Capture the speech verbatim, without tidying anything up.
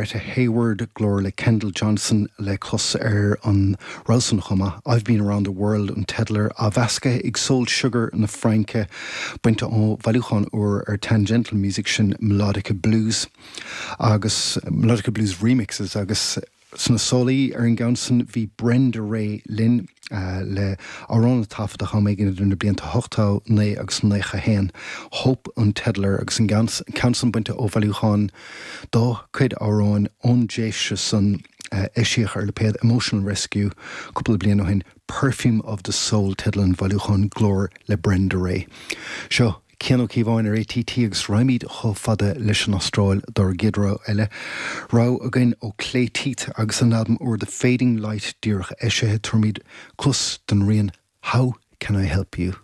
Rita Hayworth, glór le Kendall Johnson le clos ar an rogha san chomh maith. I've Been Around the World an teideal air, á mheascadh ag Soul Sugar na Fraince, bainte ó bhailiúchán úr ar Tangential Music, sin Melodica Blues agus Melodica Blues Remixes. Agus sna sólaí ar an gceann san bhí Brenda Ray linn uh, le amhrán a taifeadadh am éigin idir na blianta ochtó naoi agus naocha haon. Hope an teideal air, agus an ceann san bainte ó bhailiúchán dá cuid amhrán ón dtréimhse san uh, eisíodh ar lipéad Emotional Rescue cúpla bliain ó shin. Perfume of the Soul teideal an bhailiúcháin, glór le Brenda Ray. Seo Cian Ó Cíobháin ar A T T agus raghaimid chomh fada leis an Astráil dár gcéad rogha eile. Rogha againn ó Clay Teeth agus an albam úr The Fading Light díreach eisithe. Tabharfaimid cluas don rian How Can I Help You?